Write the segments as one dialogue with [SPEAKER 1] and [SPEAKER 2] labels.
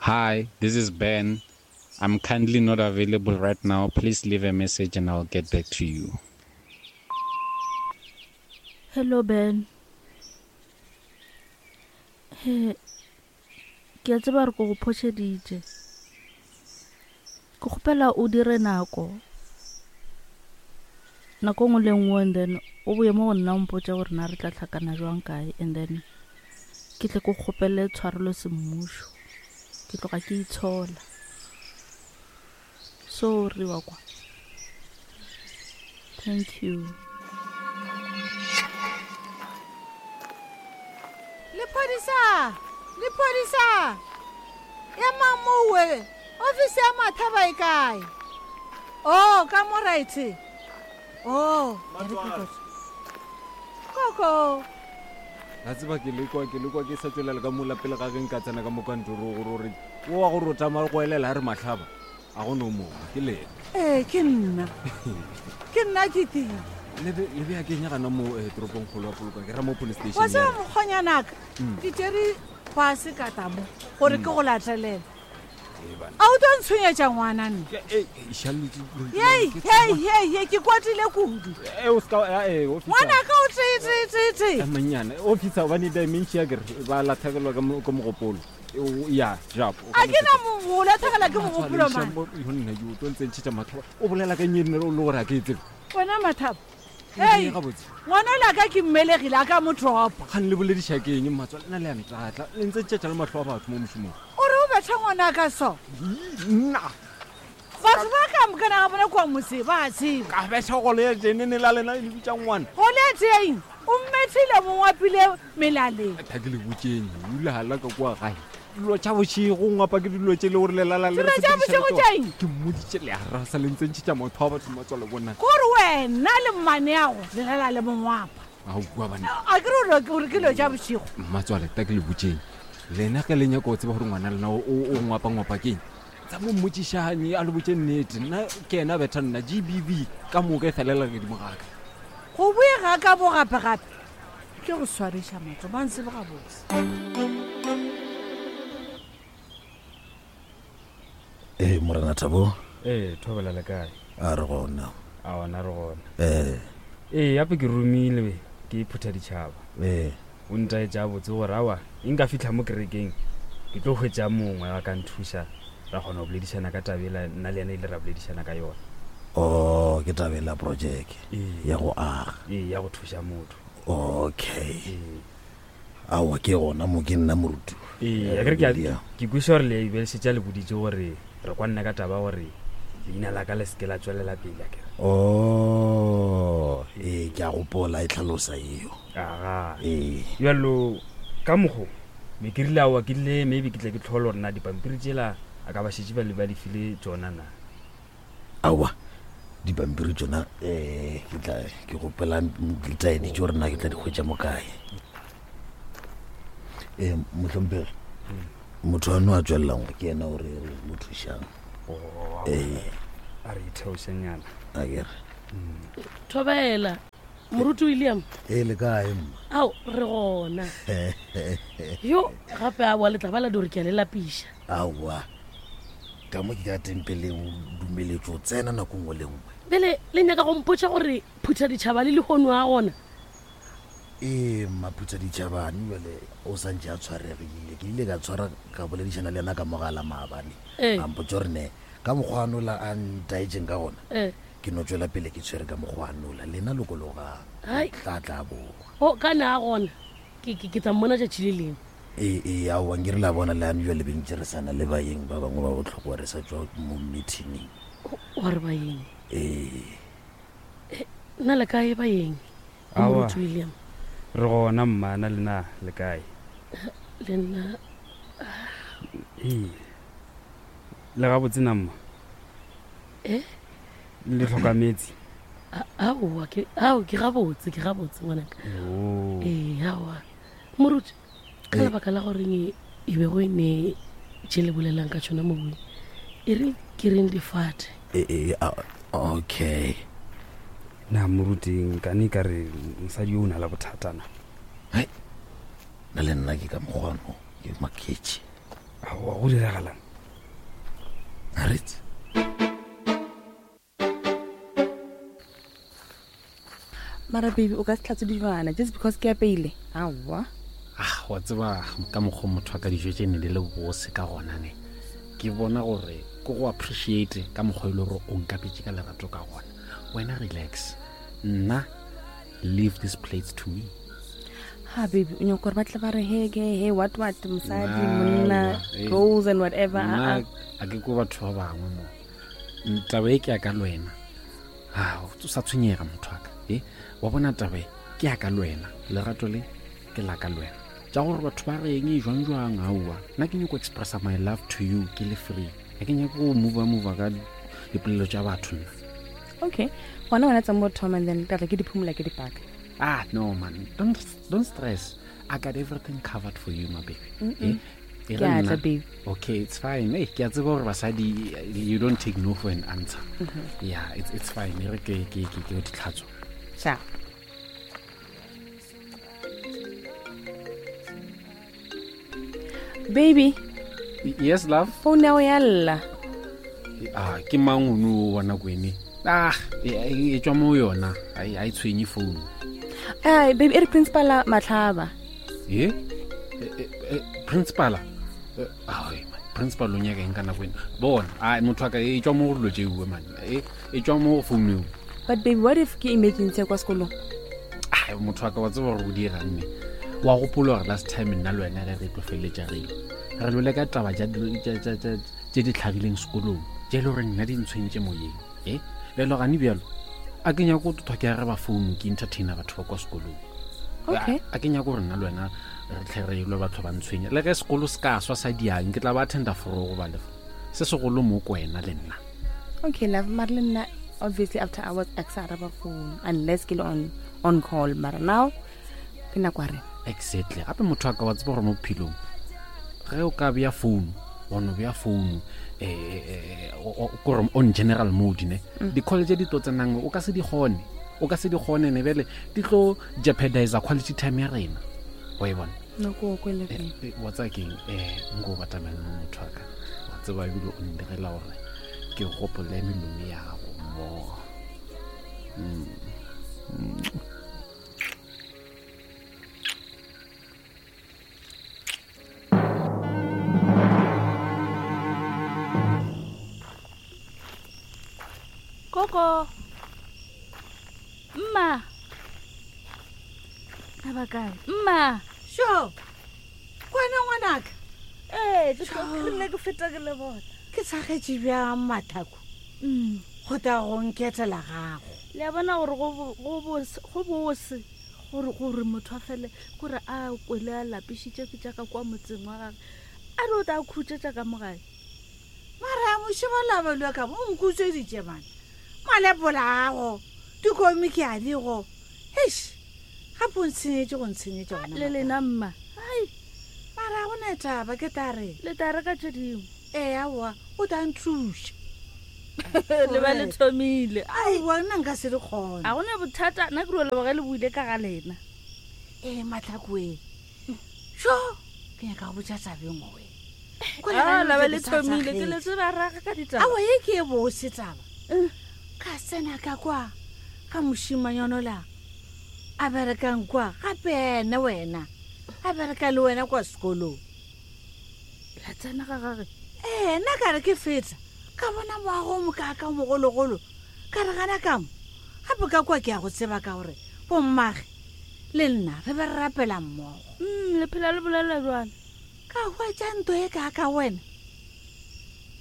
[SPEAKER 1] Hi, this is Ben. I'm kindly not available right now. Please leave a message and I'll get back to you.
[SPEAKER 2] Hello Ben. He, ke a tseba gore ko go phošeditše. Ke kgopela o dire nako. Nako nngwe le nngwe and then o boye mo go nna o mpotše gore na re tla hlakana jwang kae and then ke tle ke kgopele tshwarelo semmušo. Ke tloga ke itshola. Sorry wa kwa. Thank you.
[SPEAKER 3] Lephodisa! Lephodisa! Emang mowe! Ofisi ya Mathaba e kae? Oh, ka mo right. Oh, e re ke kotsi. Koko.
[SPEAKER 4] La tseba ke lekwa ke lekwa ke sa tswelela ka mola pele ga ge nka tsena ka mo kantorong gore gore o wa go rotama go elela a re mahlaba a go no mongwe ke lena.
[SPEAKER 3] Ee, ke nna. Ke nna ke teng.
[SPEAKER 4] Le be le bea kenya gana mo eh, toropong kgolo ya Polokwane ke ra mo police station.
[SPEAKER 3] Wa tseba mokgonyanaka, ke tšere pase ka tamo gore ke go latelela. A o tlo ntshwenyetša ngwana nne? Yei, yei, yei, yei, ke kwatile kudu. Ngwanaka o tee, tee, tee, tee.
[SPEAKER 4] Mannyane, officer gobane dementia ke re ba latlhegelwa ke mo- ke mogopolo. Ya, jap.
[SPEAKER 3] A ke na mo go latlhegelwa ke mogopolo man.
[SPEAKER 4] Nna yo tlo ntse ntšhetša matlho. O bolela ka eng o le gore a ke e tsebe.
[SPEAKER 3] Wena Mathabo. Hei, ngwana la ka ke mmelegile a ka mo dropa.
[SPEAKER 4] Kgang le bolediša ke eng mmatswale nna le ya ntlatla le ntse ntšetša le mahlo a batho mo mošomong.
[SPEAKER 3] O re o betha ngwana ka so?
[SPEAKER 4] Nna.
[SPEAKER 3] Batho ba ka mokana ga bona kwa motse ba a tseba.
[SPEAKER 4] Ka betha gole ya jenene la lena le bitša ngwana.
[SPEAKER 3] Gole ya teng o mmethile mongwapile melaleng.
[SPEAKER 4] Tha ke le botšeng ula ka kwa gae. Dilo tša bošego ngwapa ke dilo tše le gore lelala le
[SPEAKER 3] Dilo tša bošego tša eng?
[SPEAKER 4] Ke mmoditše le arasa le ntse ntšhetša motho wa batho matswalo bona.
[SPEAKER 3] Kore wena le mmaneago le lala le mongwapa.
[SPEAKER 4] Aowa bana.
[SPEAKER 3] A ke re gore ke dilo tša bošego.
[SPEAKER 4] Mmatswale ta ke le botšeng. Lena ge le nyaka go tseba gore ngwana lena o o ngwapa ngwapa keng. Tsa mo mmotšišane a le botše nnete. Nna ke yena betha nna GBV ka moka e felela godimo ga ka.
[SPEAKER 3] Go boye ga ka bo gape gape. Ke go swariša matlo ba ntsebe gabotse.
[SPEAKER 5] Ee, Morena Thabo.
[SPEAKER 6] Ee, thobela le kae?
[SPEAKER 5] A re gona.
[SPEAKER 6] A ona re gona.
[SPEAKER 5] Ee.
[SPEAKER 6] Ee, gape ke romile ke phutha ditšhaba.
[SPEAKER 5] Ee.
[SPEAKER 6] O ntaetša botse gore awa e nka fitlha mo kerekeng ke tlo hwetša mongwe a ka nthuša ra kgona go boledišana ka tabela nna le yena ile ra boledišana ka yona.
[SPEAKER 5] Oh, ke tabela projeke ya go aga.
[SPEAKER 6] Ee, ya go thuša motho.
[SPEAKER 5] Okay. Ee. Aowa ke gona mo ke nna moruti.
[SPEAKER 6] Ee, akere ke a- ke kweša gore le be le šetše a le boditše gore re kwanne ka taba gore leina la ka le seke la tswelela pele akere.
[SPEAKER 5] Oh, ee ke a gopola e tlhalosa eo.
[SPEAKER 6] Aga.
[SPEAKER 5] Ee.
[SPEAKER 6] Bjalo ka mokgo be ke rile aowa ke rile maybe ke tle ke tlhole gore na dipampiri tšela a ka ba šetše ba le ba di file tšona na.
[SPEAKER 5] Aowa, dipampiri tšona um ke tla ke gopela ditaedi tšo gore na ke tla di hwetša mo kae. Ee, mohlomphegi, motho ano a tswelelang ke yena o re re mo thušang. Ee.
[SPEAKER 6] A re itheošenyana.
[SPEAKER 5] A ke re.
[SPEAKER 7] Thobela, Moruti William.
[SPEAKER 5] Ee, le kae mma?
[SPEAKER 7] Ao, re gona. Yo, gape aowa le tla ba la di gore ke a le lapiša.
[SPEAKER 5] Aowa. Ka mo ke ka tempeleng o dumeletšwe go tsena nako nngwe le nngwe.
[SPEAKER 7] Bjale le nyaka go mpotša gore Phuthaditšhaba le lehono a gona?
[SPEAKER 5] Ee, mma Phuthaditšhabane bjale o sa ntše a tshwaregile. Ke ile ka tshwara ka boledišana le yena ka mogala maabane.
[SPEAKER 7] Ee.
[SPEAKER 5] A mpotša gore ne ka mokgwa anola a ntaetšeng ka gona,
[SPEAKER 7] Ee.
[SPEAKER 5] ke no tšwela pele ke tshwere ka mokgwa anola. Lena lokologang.
[SPEAKER 7] Hai.
[SPEAKER 5] Tla tla boa.
[SPEAKER 7] O ka na a gona. Ke, ke, ke tla mmona tšatši le lengwe.
[SPEAKER 5] Ee, ee, aowa, nke re la bona le ane jwale bentše re sa na le baeng ba bangwe ba bohlokwa re sa tšwa mo meetingeng.
[SPEAKER 7] Wa re baeng?
[SPEAKER 5] Ee.
[SPEAKER 7] Eh, na le kae baeng?
[SPEAKER 6] Aowa.
[SPEAKER 7] Moruti William.
[SPEAKER 6] Re gona mma, na le na le kae?
[SPEAKER 7] Le nna.
[SPEAKER 6] Ee. Le gabotse na mma?
[SPEAKER 7] Eh?
[SPEAKER 6] Le hloka metsi?
[SPEAKER 7] Aowa, ke, ao, ke gabotse, ke gabotse ngwanaka.
[SPEAKER 6] Oh.
[SPEAKER 7] Ee, aowa. Moruti, ka lebaka la goreng e be go e ne tše le bolelang ka tšona mobung, e re ke reng difate.
[SPEAKER 5] E, e, a, okay.
[SPEAKER 6] Na moruti, nkane ka re mosadi yo o na le bothata na?
[SPEAKER 5] Hai, na le nna ke ka mokgwano, ke maketše.
[SPEAKER 6] Aowa, go diragalang?
[SPEAKER 5] Aretse.
[SPEAKER 8] Mara baby, o ka se tlhatswe dijwana just because ke apeile. Aowa.
[SPEAKER 1] Ah, wa tseba ka mokgwa motho wa ka dijo tše ne di le bose ka gona ne. Ke bona gore ke go appreciate ka mokgwa e le gore o nkapetše ka lerato ka gona. Wena relax. Nna leave these plates to me.
[SPEAKER 8] Ha baby, o nyaka gore ba tle ba re he ke he what what mosadi monna roles and whatever.
[SPEAKER 1] Nna a ke ko batho ba bangwe mo. Taba e ke ya ka le wena. A o sa tshwenyega motho wa ka. E wa bona taba e ke ya ka le wena. Lerato le ke la ka le wena. Tša gore batho ba reng e jwang jwang aowa. Nna ke nyako expressa my love to you ke le free. A ke nyako go move move ka dipolelo tša batho nna.
[SPEAKER 8] Okay. Gona wena tsamo thoma and then ka tla ke di phumula ke di paka.
[SPEAKER 1] Ah, no man, don't stress. I got everything covered for you, my baby.
[SPEAKER 8] Mm -mm. Eh? Ke a tla, babe.
[SPEAKER 1] Okay, it's fine. Hey, ke a tseba gore basadi you don't take no for an answer. Mm -hmm. Yeah, it's fine. E re ke ke ke ke di tlhatswa.
[SPEAKER 8] Sha. Baby.
[SPEAKER 1] Yes, love.
[SPEAKER 8] Phone ya ya lla.
[SPEAKER 1] Ah, ke mang ono wa nako ene? Ah, e tswa mo yona. Ai ai tshwenye phone.
[SPEAKER 8] Ai, baby, e re principal Matlhaba.
[SPEAKER 1] Eh? Principal. Ah, principal o nyaka eng ka nako ene? Bona, ai motho a ka e tswa mo go dilo tšeo man. E e tswa mo go phone eo.
[SPEAKER 8] But baby, what if ke emergency kwa sekolong?
[SPEAKER 1] Ai, motho wa ka wa tseba gore o dirang ne. Wa gopola gore last time nna le wena ge re tlo feleletša re re lole ka taba tše di tlhagileng sekolong tše e le gore nna di ntshwentše moyeng e bjalo gane bjalo a ke nyako go tothwa ke araba founu ke entertaina batho ba kwa sekolong.
[SPEAKER 8] Okay.
[SPEAKER 1] A ke nyako gore nna le wena re tlhe re lwe batho ba ntshwenya le ge sekolo se ka swa sa diang ke tla ba attenda foro go ba lefa se segolo mo ko wena le nna.
[SPEAKER 8] Okay, love, mara le nna obviously after hours a ke sa araba phone unless ke le on call, mara now ke nako ya rena.
[SPEAKER 1] Exactly. Gape motho a ka wa tseba gore mo bophelong ge o ka bea phone wa no bea phone kore on general mode ne di-call tse di tlo tsenang o ka se di kgone, o ka se di kgone ne bjale di tlo jeopardize quality time ya rena wa e bona.
[SPEAKER 8] No, ko o kwele pele.
[SPEAKER 1] Wa tseba keng, nko o batamela mo motho wa ka wa tseba ebile o ndirela gore ke gopole melomo ya gago mmogo.
[SPEAKER 2] Koko. Mma. Na ba kae? Mma.
[SPEAKER 3] Sho. Kwana ngwanaka.
[SPEAKER 2] Ee, ke rile ke feta ke le bona.
[SPEAKER 3] Ke tshagetše bjang mathako. Go tla go nketela gago.
[SPEAKER 2] Le a bona gore go bose gore gore motho a fele gore a kwele a lapišitše ke tša ka kwa motseng wa gage. A re o tla khutša tša ka mo gae.
[SPEAKER 3] Mara mošeba la balwa ka mo nkutsweditše bana. Malepola ago, dikomiki a digo. Eish. Gape o ntshenyetše go ntshenyetša gona.
[SPEAKER 2] Le lena mma. Ai.
[SPEAKER 3] Mara go na taba ke tla re.
[SPEAKER 2] Le tla reka tše dingwe.
[SPEAKER 3] Ee aowa, o tla nthuša.
[SPEAKER 2] Le ba le thomile.
[SPEAKER 3] Aowa, nna nka se le kgone.
[SPEAKER 2] A gona bothata, nna ke ro leboga le buile ka ga lena.
[SPEAKER 3] Ee, Matlhakoe. Sho, ke nyaka go botša taba e nngwe.
[SPEAKER 2] Ah, la ba le thomile ke le tseba raga ka ditaba.
[SPEAKER 3] Aowa, ye ke e bose taba. Ka tsena ka kwa ga mošimanyana la a berekang kwa gape ene wena a bereka le wena kwa sekolong.
[SPEAKER 2] La tsena ga gage?
[SPEAKER 3] Ee, nna ka re ke feta ka bona moago o mokaaka o mogologolo, ka re gana ka mo gape ka kwa ke ya go tseba ka gore bommage le nna re be re rapela mmogo.
[SPEAKER 2] Le phela le bolela bjalo.
[SPEAKER 3] Ka hwetša nto e kaaka wena,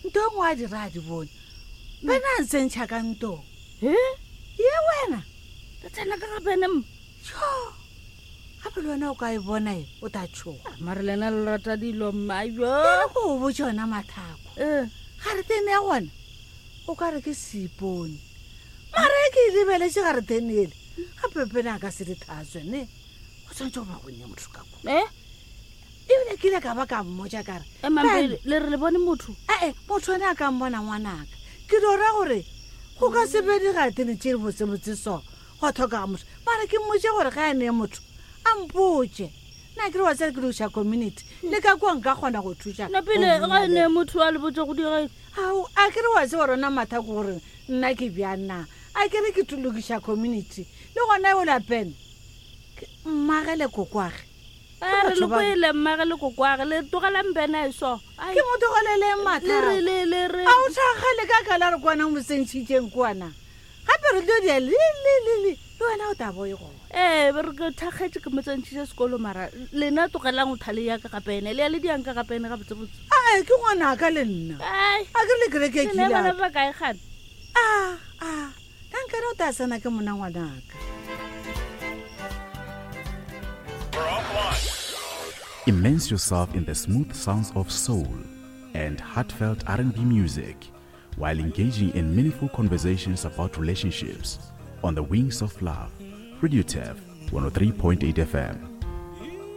[SPEAKER 3] nto e nngwe a di ra di bone bena a ntsentšha ka ntong.
[SPEAKER 2] He?
[SPEAKER 3] Ye wena.
[SPEAKER 2] Re tsena ka ga bene mma.
[SPEAKER 3] Tšho, gape le wena o ka e bona e, o tla tšhoga.
[SPEAKER 2] Mare lena le rata dilo mma, jo.
[SPEAKER 3] E re ko o botše yona Mathako.
[SPEAKER 2] Eh.
[SPEAKER 3] Garetene ya gona o ka re ke seipone. Mara e ke e lebeletše garetene ele, gape pene a ka se di thatswe ne. Go tshwanetse go ba go nne motho ka kwa.
[SPEAKER 2] Eh?
[SPEAKER 3] Ebile ke ile ka ba ka mmotša ka re,
[SPEAKER 2] Eh, Mampedi,
[SPEAKER 3] Bene.
[SPEAKER 2] le re le bone motho?
[SPEAKER 3] Ee, motho ene a ka mmona ngwanaka. Ke do ra gore go ka se be digatene tše botsebotse so, gwa tlhokega motho. Mara ke mmotše gore ge a nee motho, a mpotše. Nna ke re wa tsere ke loša community le ka kua nka kgona go thuša.
[SPEAKER 2] Napile ga ne motho a le botse go dira.
[SPEAKER 3] Ao a ke re wa tseba rona matha ke gore nna ke bjang na a ke re ke lokiša community le gona o lapeng mmage le kokwage.
[SPEAKER 2] A re le kwele mmage le kokwage le tlogelang bena e so.
[SPEAKER 3] Ke mo tlogeleleng matha.
[SPEAKER 2] Le re le le re.
[SPEAKER 3] A o thakgale ka ka la re kwana mo sentšhitšeng kwana. Gape re tlo dia le le le le le wena o tabo e gona.
[SPEAKER 2] Ee, be re ke thakgetše ke mo tsentšhitše sekolo mara lena tlogelang o thale ya ka gape ene le ya le diang ka gape ene gabotsebotse.
[SPEAKER 3] Ae ke ngwanaka le nna.
[SPEAKER 2] Ai.
[SPEAKER 3] A ke re le kereke e
[SPEAKER 2] Le ne bana
[SPEAKER 3] kile.
[SPEAKER 2] ba kae gane?
[SPEAKER 3] A a ka nkare o tla tsena ke mona ngwanaka.
[SPEAKER 9] Immerse yourself in the smooth sounds of soul and heartfelt R&B music while engaging in meaningful conversations about relationships on the Wings of Love. Radio TEF 103.8 FM.